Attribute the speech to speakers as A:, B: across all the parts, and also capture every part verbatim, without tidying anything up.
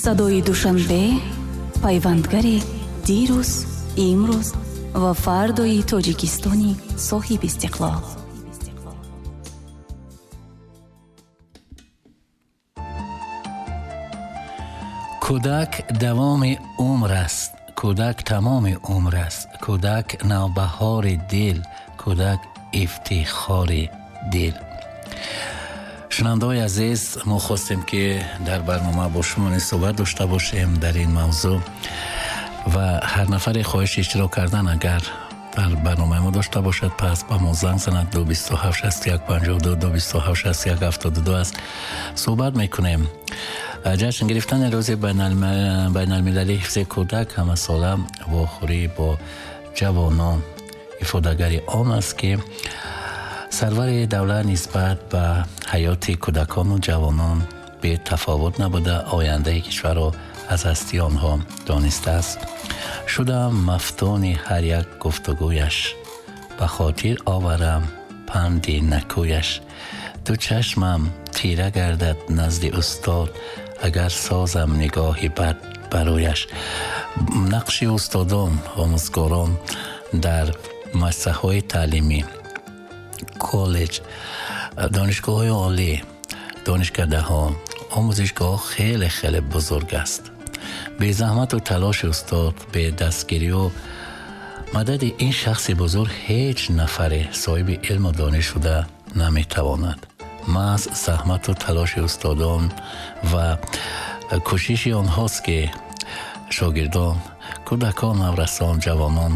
A: Садои Душанбе, пайвандгари дирӯз, имрӯз ва фардои Тоҷикистони соҳиби истиқлол.
B: Кӯдак давоми умр аст, кӯдак тамоми умр аст, кӯдак навбаҳори дил, кӯдак ифтихори дил. Шунавандаҳои азиз, мо хостем, ки дар барнома бо шумо низ суҳбат дошта бошем дар ин мавзӯъ ва ҳар нафаре хоҳиши иштирок кардан агар дар барномаи мо дошта бошад, пас ба мо занг занад. Ду бисту ҳафт шасту як панҷоҳу ду, ду бисту ҳафт шасту як ҳафтоду ду аст. Суҳбат мекунем. Ҷашн гирифтани рӯзи байналмилалии ҳифзи кӯдак ҳамасола вохӯрӣ бо ҷавонон ифодагари он аст, ки сарвари давлат нисбат ба ҳаёти кӯдакону ҷавонон бетафовут набуда, ояндаи кишварро аз ҳастии онҳо донистааст. Шудам мафтуни ҳар як гуфтугӯяш, ба хотир оварам панди накӯяш. Ду чашмам тира гардад назди устод, агар созам нигоҳи бад барояш. Нақши устодон, омӯзгорон дар муассисаҳои таълимӣ, коллеҷ, донишгоҳҳои олӣ, донишкадаҳо, омӯзишгоҳ хеле хеле бузург аст. Бе заҳмату талоши устод, бе дастгирию мадади ин шахси бузург ҳеҷ нафаре соҳиби илму дониш шуда наметавонад. Маҳз заҳмату талоши устодон ва кӯшиши онҳост, ки шогирдон, кӯдакон, наврасон, ҷавонон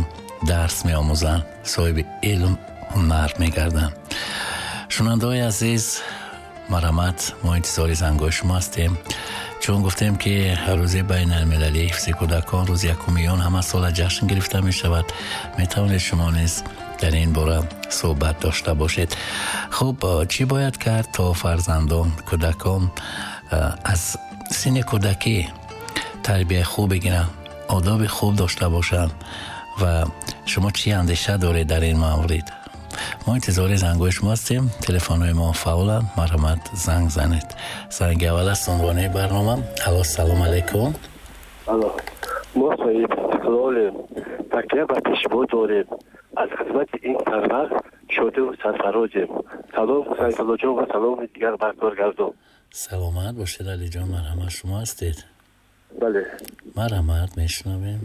B: дарс меомӯзанд, соҳиби илм, ҳунар мегарданд. Шунавандаҳои азиз, марҳамат, мо интизори зангҳои шумо ҳастем. Чун гуфтем, ки рӯзи байналмилалии ҳифзи кӯдакон рӯзи якуми июн ҳамасола ҷашн гирифта мешавад, метавонед шумо низ дар ин бора суҳбат дошта бошед. Хуб, чӣ бояд кард то фарзандон, кӯдакон аз синни кӯдакӣ тарбияи хуб бигиранд, одоби хуб дошта бошанд ва шумо чӣ андеша доред дар ин маврид? Мо интизори зангҳои шумо ҳастем. Телефонҳои мо фаъоланд, марҳамат занг занед. Занги аввал аст унвони барнома. Алло, салом алайкум.
C: Алло, мо соҳиби истиқлолем, такя ба пешво дорем, аз хизмати ин сарвар шоду сарфарозем. Салом Сайфуллоҷон ва саломи дигар ба коргардон.
B: Саломат бошед, Алиҷон, марҳамат, шумо ҳастед?
C: Бале.
B: Марҳамат, мешунавем.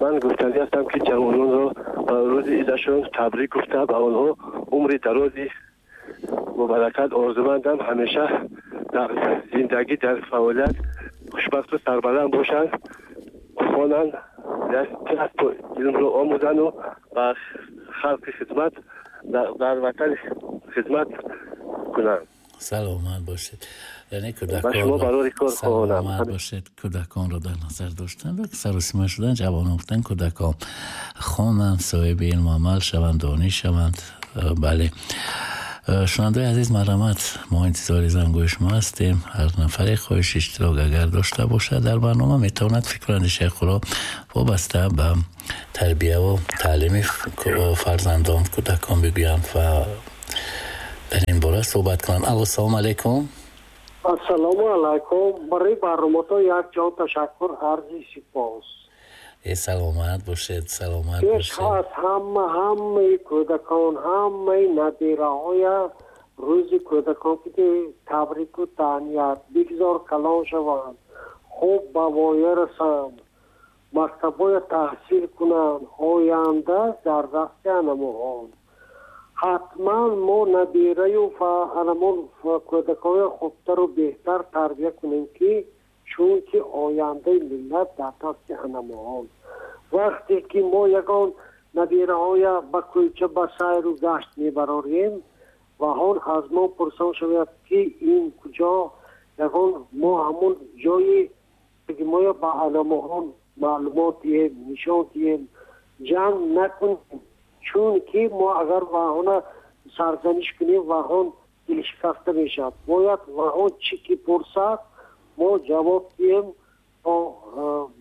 C: Ман гуфтанӣ ҳастам, ки ҷавононро ба рӯзи идашон табрик гуфта, ба онҳо умри дарози мубаракат орзумандам. Ҳамеша дар зиндагӣ, дар фаъолият хушбахту сарбаланд бошанд, хонанд, илмро омӯзанду ба халқи хизмат, дар ватан хизмат кунанд.
B: Саломат бошед. Яъне
C: Ба шумо барори кор хоҳонам.
B: Саломат бошед. Кӯдаконро дар назар доштан ва саросима шудан, ҷавонон гуфтан кӯдакон хонанд, соҳиби илму амал шаванд, дониш шаванд. Бале. Шунавандаҳои азиз, марҳамат, мо интизори зангҳои шумо ҳастем. Ҳар нафаре хоҳиши иштирок агар дошта бошад дар барнома, метавонад фикру андешаи худро вобаста ба тарбияву таълими фарзандон, кӯдакон бигӯянд ва дар ин бора суҳбат кунанд. Алло, салом алайкум.
D: Ассалому алайкум. Барои барномато як ҷон ташаккур, арзи сипос.
B: Э, саломат бошед, саломат
D: Пеш
B: бошед.
D: аз ҳама, ҳамаи кӯдакон, ҳамаи набираҳоя рӯзи кӯдакон ки табрику таҳният, бигзор калон шаванд, хуб ба воя расанд, мактабҳоя таҳсил кунанд, оянда дар дасти анамоҳон. Ҳатман мо набираю анамон кӯдакҳоя хубтару беҳтар тарбия кунем, ки чунки ояндаи миллат дар дасти анамоҳон. Вақте ки мо ягон набираҳоя ба кӯча ба сайру гашт мебарорем ва он аз мо пурсон шавад, ки ин куҷо, ягон мо ҳамон ҷои ки моя ба анамоҳон маълумот диҳем, нишон диҳем, ҷанг накунем, чунки мо агар ваҳона сарзаниш кунем, ваҳон дилшикаста мешавад. Бояд ваҳон чӣ ки пурсад, мо ҷавоб диҳем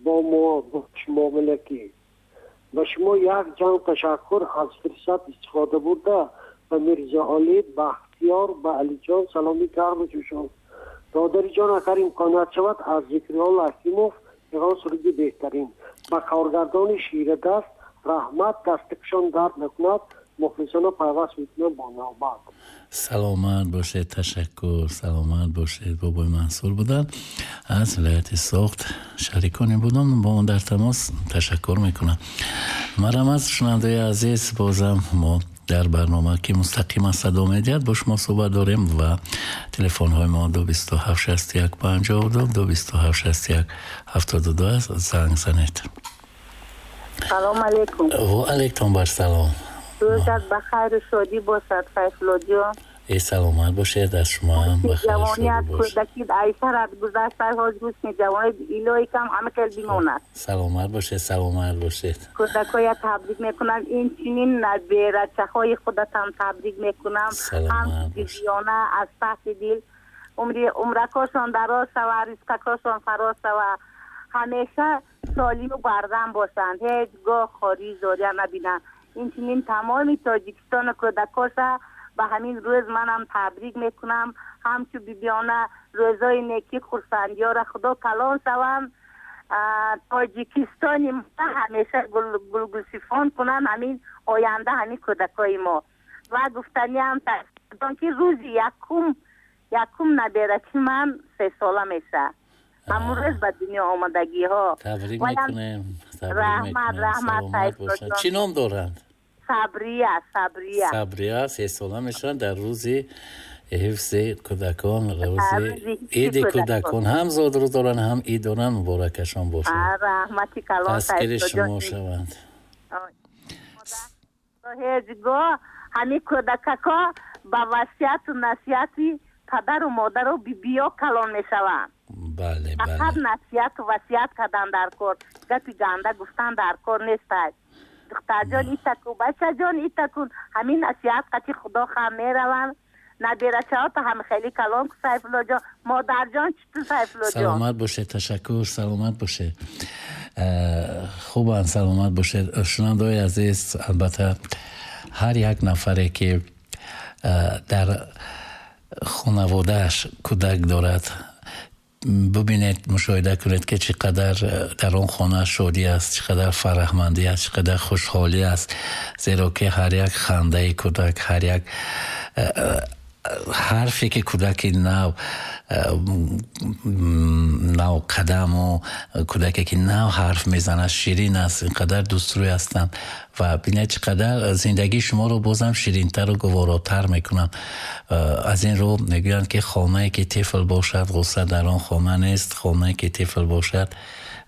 D: бо муомилакӣ. Ба шумо як ҷанг ташаккур, аз фурсат истифода бурда ба Мирзоалӣ, Бахтиёр, ба Алиҷон саломи гарму ҷӯшон. Додариҷон, агар имконият шавад, аз Зикриёл Ҳакимов ягон суруди беҳтарин. Ба коргардони ширадаст раҳмат, дастикшон дард накунад, мухлисона пайваст мекунам бо навбат.
B: Саломат бошед, ташаккур, саломат бошед. Бобои Мансур буданд аз вилояти Суғд, шариконе будам бо он дар тамос. Ташаккур мекунам. Марҳамат, шунавандаи азиз, бозам мо дар барнома ки мустақиман садо медиҳад бо шумо суҳбат дорем ва телефонҳои мо ду бисту ҳафт шасту як панҷоҳу ду, ду бисту ҳафт шасту як ҳафтоду ду аст. Занг занед.
E: Салом алейкум.
B: Ва алейкум ассалом.
E: Рӯзат ба хайру шодӣ бошад, Сайфуллоҷон.
B: Э, саломат бошед, аз шумо ҳам ба хайру шодӣ
E: Ҷавоният,
B: бошад.
E: Кӯдакӣ айсарат гузашта, ҳоз ҳусни ҷавонӣ илоҳӣ кам ҳама хел бимонад.
B: Саломат бошед, саломат бошед.
E: Кӯдакоя табрик мекунам, инчунин наберачаҳои худатам табрик мекунам.
B: Саломат
E: Ҳам
B: бошед.
E: Бибиёна аз таҳти дил умри умракошон дароз шава, ризқакошон фароз шава, ҳамеша солиму бардам бошанд, ҳеҷ гоҳ хорӣ зория набинанд. Инчунин тамоми Тоҷикистону кӯдакоша ба ҳамин рӯз манам табрик мекунам. Ҳамчу бибиёна рӯзои некӣ хурсандиёра худо калон шаванд, Тоҷикистони мо ҳамеша гулгулсифон кунанд, ҳамин оянда ҳамин кӯдакои мо. Ва гуфтаниам ки рӯзи якум якум наберачи ман сесола мешавад. Ҳамун рӯз ба дунё омадагиҳо.
B: Табрик мекунем.
E: Раҳмат, раҳмат.
B: Чӣ ном доранд?
E: Сабрия, Сабрия.
B: Сабрия сесола мешаванд дар рӯзи ҳифзи кӯдакон, рӯзи иди кӯдакон. Ҳам зодрӯз доранд, ҳам ид доранд. Муборакашон бошад.
E: Раҳмати калон.
B: Таскири шумо шаванд.
E: Ҳеҷ гоҳ ҳамин кӯдакако ба васияту насиҳати падару модару бибиё калон мешаванд.
B: Бале, бале.
E: Фақат насиҳату васият кардан дар кор, гапи ганда гуфтан дар кор нестад. Духтарҷон итакун, бачаҷон итакун, ҳамин насиҳат қати худо хам мераванд. Наберачаҳото ҳам хеле калон ку, Сайфуллоҷон. Модарҷон читу, Сайфуллоҷон?
B: Саломат бошед, ташаккур, саломат бошед. Хубанд, саломат бошед. Шунавандаои азиз, албатта ҳар як нафаре ки дар хонаводааш кӯдак дорад, бубинед, мушоҳида кунед ки чӣ қадар дар он хона шодӣ аст, чӣ қадар фараҳмандӣ аст, чӣ қадар хушҳолӣ аст. Зеро ки ҳар як хандаи кӯдак, ҳар як ҳарфе ки кӯдаки нав навқадаму кӯдаке ки нав ҳарф мезанад ширин аст, инқадар дӯстрӯй ҳастанд ва бинед чӣ қадар зиндагии шуморо бозам ширинтару гуворотар мекунанд. Аз ин рӯ мегӯянд ки хонае ки тифл бошад, ғусса дар он хона нест, хонае ки тифл бошад,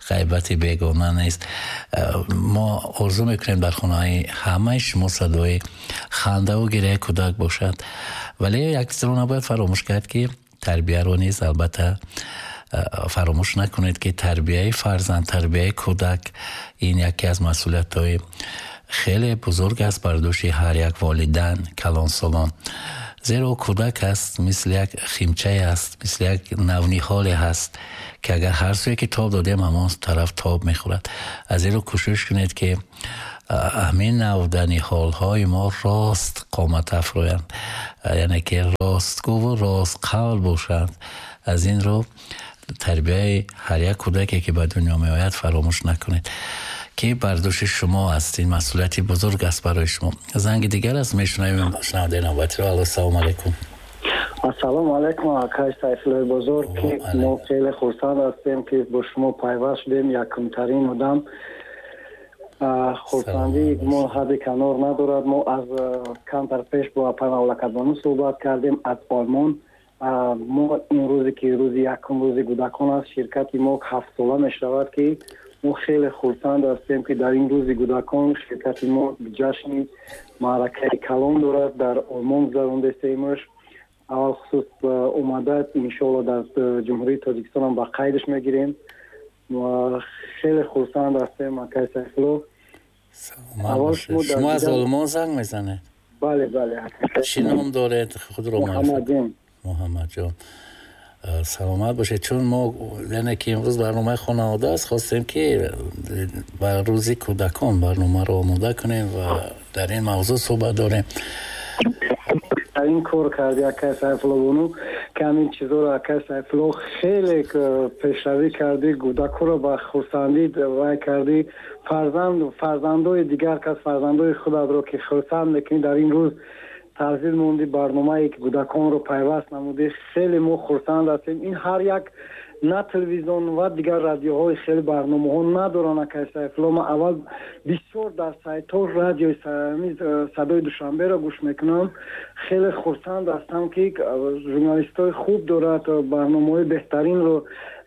B: ғайбати бегона нест. Мо орзу мекунем дар хонаи ҳамаи шумо садои хандаву гиряи кӯдак бошад. Вале як чизро набояд фаромӯш кард ки тарбияро низ албатта фаромӯш накунед ки тарбияи фарзанд, тарбияи кӯдак ин яке аз масъулиятҳои хеле бузург аст бар дӯши ҳар як волидан, калонсолон. Зеро кӯдак аст мисли як химчае аст, мисли як навниҳоле ҳаст ки агар ҳар сӯе ки тоб додем, ҳамон тараф тоб мехӯрад. Аз ин рӯ кӯшиш кунед ки ҳамин навданиҳолҳои мо рост қомат афрӯянд, яъне ки ростгӯву ростқавл бошанд. Аз ин рӯ тарбияи ҳар як кӯдаке ки ба дунё меояд фаромӯш накунед ки бар дӯши шумо аст. Ин масъулияти бузург аст барои шумо. Занги дигар аст, мешунавем шунавандаи навбатиро. Алло, салому алайкум.
F: Ассалому алайкум, акай Сайфуллои бузург, ки мо хеле хурсанд ҳастем ки бо шумо пайваст шудем. Якумтарин одам. Хурсандии мо ҳадди канор надорад. Мо аз камтар пеш бо апай Мавлакадбону суҳбат кардем аз Олмон. Мо ин рӯзе ки рӯзи якум рӯзи кӯдакон аст, ширкати мо ҳафтсола мешавад ки мо хеле хурсанд ҳастем ки дар ин рӯзи кӯдакон ширкати мо ҷашни маъракаи калон дорад, дар Олмон гузарондастемаш. Аввал хусус омада иншоалло дар Ҷумҳурии Тоҷикистон ҳам ба қайдаш мегирем. Хеле хурсанд ҳастем, акай Сайфулло.
B: Шумо аз Олмон занг мезанед?
F: Бале, бале.
B: Чӣ ном доред? Худро
F: Муҳаммадҷон.
B: Муҳаммадҷон, саломат бошед. Чун мо яъне ки имрӯз барномаи хонавода аст, хостем ки ба рӯзи кӯдакон барномаро омода кунем ва дар ин мавзӯъ суҳбат дорем.
F: Ин кор карди акай Сайфулло бону Ки ҳамин чизоро, акай Сайфулло, хеле пешравӣ кардӣ, кӯдакҳоро ба хурсандӣ вай кардӣ, фарзанд, фарзандои дигар кас, фарзандои худатро ки хурсанд мекунӣ, дар ин рӯз таҳзил мондӣ, барномае ки кӯдаконро пайваст намудӣ, хеле мо хурсанд ҳастем. Ин ҳар як на телевизион ва дигар радиоҳои хеле барномаҳо надоранд, акай Сайфулло. Ман аввал бисёр дар сайтҳо радиои Садои Душанберо гӯш мекунам. Хеле хурсанд ҳастам, ки журналистҳои хуб дорад, барномаҳои беҳтаринро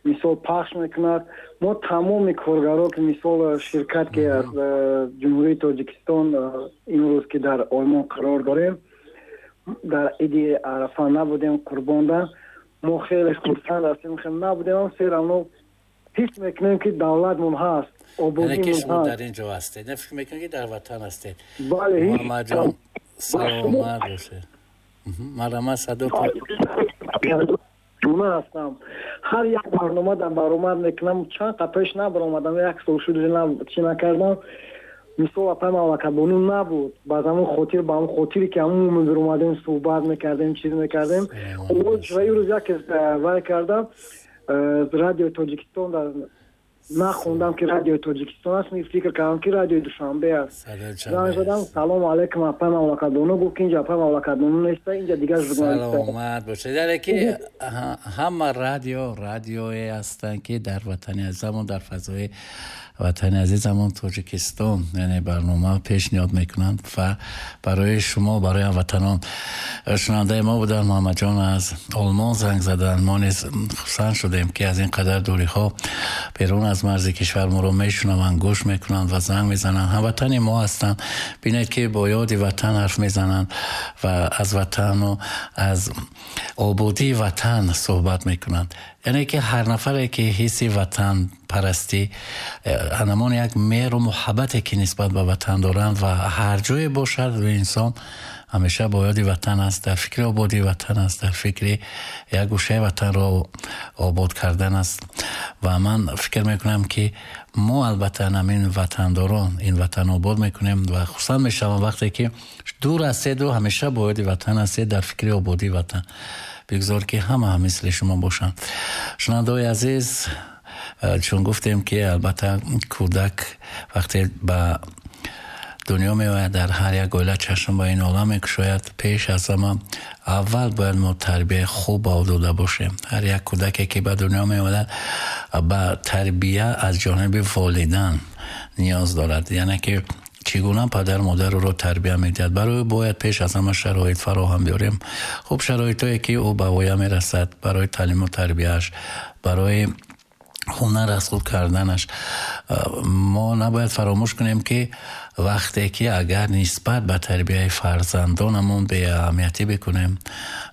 F: мисол пахш мекунад. Мо тамоми коргаро, ки мисол ширкат, ки аз Ҷумҳурии Тоҷикистон имрӯз ки дар Олмон қарор дорем, дар иди Арафа набудем, қурбонда. Мо хеле хурсанд ҳастем, хеле набудем, ам все равно ҳис мекунем, ки давлатмон ҳаст,
B: ободимон ҳаст. Дар ин ҷо ҳастед, не фикр мекунед, ки дар ватан ҳастед?
F: Бале.
B: Муҳаммадҷон, саломат бошед, марҳамат, садо.
F: Гуна ҳастам, ҳар як барнома дар баромад мекунам. Чанд қа пеш набаромадам, як сол шуд, чӣ накардам. Мисол, апай Мамлакатбону набуд, ба ҳамон хотир, ба ҳамон хотире ки ҳамон мебиромадем, суҳбат мекардем, чиз мекардем. Ва имрӯз яке вай кардам, Радиои Тоҷикистон дар нахондам, ки Радиои Тоҷикистон аст, фикр кардам, ки Радиои Душанбе аст. Занг задам: «Салому алайкум, апай Мамлакатбону». Гуфт, ки инҷа апай Мамлакатбону неста, инҷа дигар
B: журналист. Саломат бошед. Яъне ки ҳама радио радиое ҳастанд, ки дар ватани азизамон, дар фазои ватани азизамон Тоҷикистон, яъне барнома пешниҳод мекунанд ва барои шумо, барои ҳамватанон. Шунавандаи мо буданд, Муҳаммадҷон аз Олмон занг заданд. Мо низ хурсанд шудем, ки аз ин қадар дуриҳо, берун аз марзи кишвар моро мешунаванд, гӯш мекунанд ва занг мезананд. Ҳамватани мо ҳастанд. Бинед, ки бо ёди ватан ҳарф мезананд ва аз ватану аз ободии ватан суҳбат мекунанд. Яъне ки ҳар нафаре ки ҳисси ватанпарастӣ, ҳамон як меҳру муҳаббате ки нисбат ба ватан доранд ва ҳар ҷое бошад, инсон ҳамеша бо ёди ватан аст, дар фикри ободии ватан аст, дар фикри як гӯшаи ватанро обод кардан аст. Ва ман фикр мекунам, ки мо албатта ҳамин ватандорон ин ватан обод мекунем ва хурсанд мешавам, вақте ки дур ҳастеду ҳамеша бо ёди ватан ҳастед, дар фикри ободии ватан. Бигзор, ки ҳама мисли шумо бошанд. Шунавандаҳои азиз, чун гуфтем, ки албатта кӯдак вақте ба дунё меояд, дар ҳар як оила чашм ба ин олам мекушояд, пеш аз ҳама аввал бояд мо тарбияи хуб ба ӯ дода бошем. Ҳар як кӯдаке ки ба дунё меояд, ба тарбия аз ҷониби волидан ниёз дорад, яъне ки чӣ гуна падар модар ӯро тарбия медиҳад. Барои ӯ бояд пеш аз ҳама шароит фароҳам биёрем, хуб шароитое ки ӯ ба воя мерасад, барои таълиму тарбияаш, барои ҳунар аз худ карданаш. Мо набояд фаромӯш кунем, ки вақте ки агар нисбат ба тарбияи фарзандонамон беаҳамиятӣ бикунем,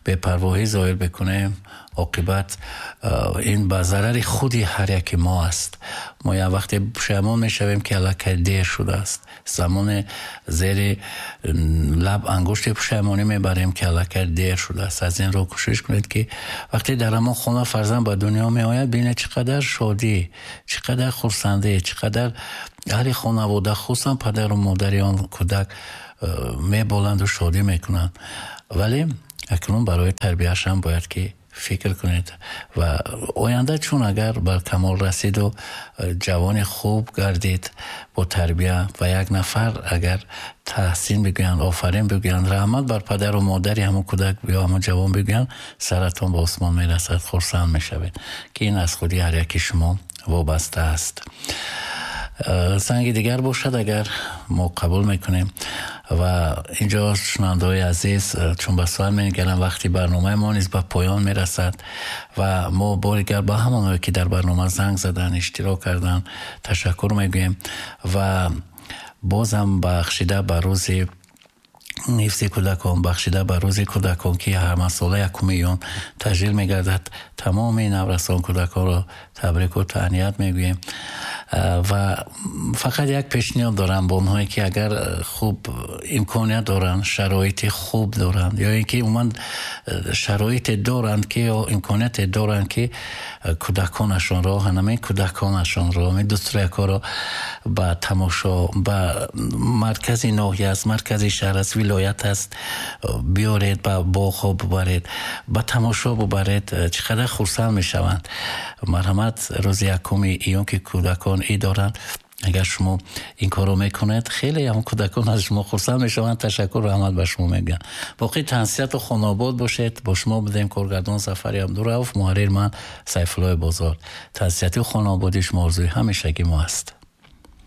B: бепарвоҳӣ зоҳир бикунем, оқибат ин ба зарари худи ҳар яки мо аст. Мо як вақте пушаймон мешавем, ки аллакай дер шудааст. Замоне зери лаб ангушти пушаймонӣ мебарем, ки аллакай дер шудааст. Аз ин рӯ кӯшиш кунед, ки вақте дар ҳамон хона фарзанд ба дунё меояд, бинед, чӣ қадар шодӣ, чӣ қадар хурсандӣ, чӣ қадар аҳли хонавода, хусусан падару модари он кӯдак меболанду шодӣ мекунанд. Вале акнун барои тарбияашам бояд ки фикр кунед ва оянда чун агар бар камол расиду ҷавони хуб гардид бо тарбия ва як нафар агар таҳсин бигӯянд, офарин бигӯянд, раҳмат бар падару модари ҳамон кӯдак ё ҳамон ҷавон бигӯянд, саратон ба осмон мерасад, хурсанд мешавед, ки ин аз худи ҳар яки шумо вобаста аст. Занги дигар бошад агар, мо қабул мекунем. Ва инҷо, шунавандаҳои азиз, чун ба соат менигарам, вақти барномаи мо низ ба поён мерасад ва мо бори дигар ба ҳамонҳое ки дар барнома занг заданд, иштирок карданд, ташаккур мегӯем ва бозам бахшида ба рӯзи ҳифзи кӯдакон, бахшида ба рӯзи кӯдакон, ки ҳамасола якуми июн таҷлил мегардад, тамоми наврасон, кӯдаконро табрику таҳният мегӯем. Ва фақат як пешниҳод дорам ба онҳое ки агар хуб имконият доранд, шароити хуб доранд ё ин ки умуман шароите доранд ки ё имконияте доранд ки кӯдаконашонро, ҳамин кӯдаконашонро, ҳамин дӯстроякҳоро ба тамошо, ба маркази ноҳия аст, маркази шаҳр аст, вилоят аст, биёред, ба боғҳо бубаред, ба тамошо бубаред, чӣ қадар хурсанд мешаванд. Марҳамат, рӯзи якуми июн ки кӯдакон ид доранд, агар шумо ин корро мекунед, хеле ҳам кӯдакон аз шумо хурсанд мешаванд, ташаккур, раҳмат ба шумо мегӯянд. Боқӣ тансиҳату хонаобод бошед. Бо шумо будем коргардон Сафари Абдурауф, муҳаррир ман Сайфуллои Бозор. Тансиҳату хонаободии шумо орзуи ҳамешагӣ мо аст.